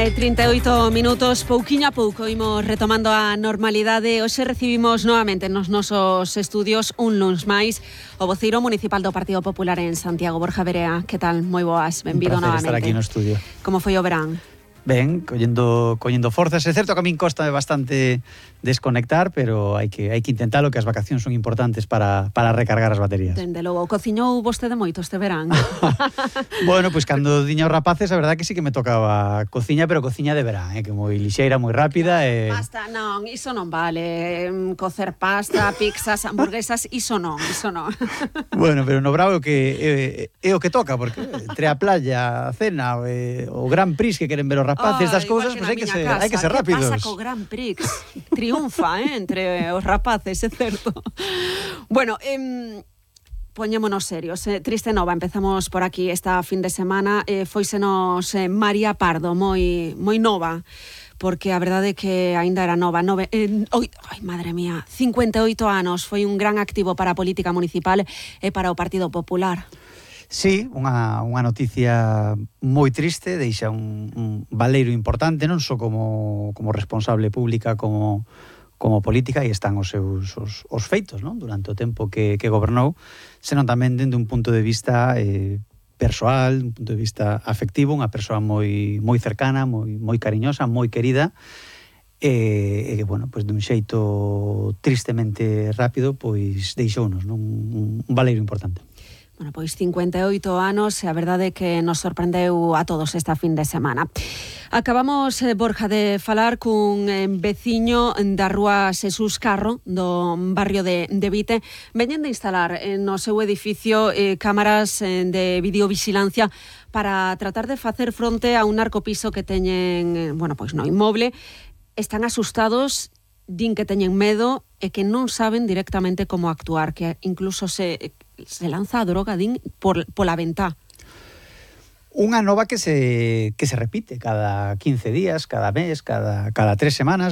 11:38 minutos, pouquiño a pouco imos retomando a normalidade. Hoxe recibimos novamente nos nosos estudios un luns máis o voceiro municipal do Partido Popular en Santiago, Borja Verea. Que tal? Moi boas, benvido novamente. Un placer estar aquí no estudio. Como foi o verán? Ben, collendo forzas. É certo que a min costa bastante desconectar, pero hai que intentalo, que as vacacións son importantes para recargar as baterías. Dende logo, cociñou vostede moito este verán? Bueno, pois cando diña os rapaces, a verdade que sí que me tocaba cociña, pero cociña de verán, que moi lixeira, moi rápida. Pasta, non, iso non vale. Cocer pasta, pizzas, hamburguesas, iso non. Bueno, pero no bravo é o que toca, porque entre a playa, a cena, o Gran Prix que queren ver os rapaces das cousas, pois hai que ser rápidos. Que pasa co Gran Prix? Triunfa, entre os rapaces, é certo. Bueno, poñémonos serios. Triste nova, empezamos por aquí esta fin de semana. Fóisenos María Pardo, moi nova, porque a verdade é que aínda era nova. Ai, madre mía, 58 anos, foi un gran activo para a política municipal e para o Partido Popular. Sí, unha noticia moi triste, deixa un valeiro importante, non só como responsable pública, como política, e están os seus os feitos, non? Durante o tempo que gobernou, senón tamén dende un punto de vista persoal, un punto de vista afectivo, unha persoa moi cercana, moi cariñosa, moi querida, e bueno, pois dun xeito tristemente rápido, pois deixounos, non? Un valeiro importante. Bueno, pois 58 anos e a verdade é que nos sorprendeu a todos esta fin de semana. Acabamos, Borja, de falar cun veciño da rúa Xesús Carro, do barrio de Vite. Veñen de instalar no seu edificio cámaras de videovigilancia para tratar de facer fronte a un narcopiso que teñen, pois no inmoble. Están asustados, din que teñen medo e que non saben directamente como actuar, que incluso se lanza a droga, din, pola ventá. Unha nova que se repite cada 15 días, cada mes, cada 3 semanas.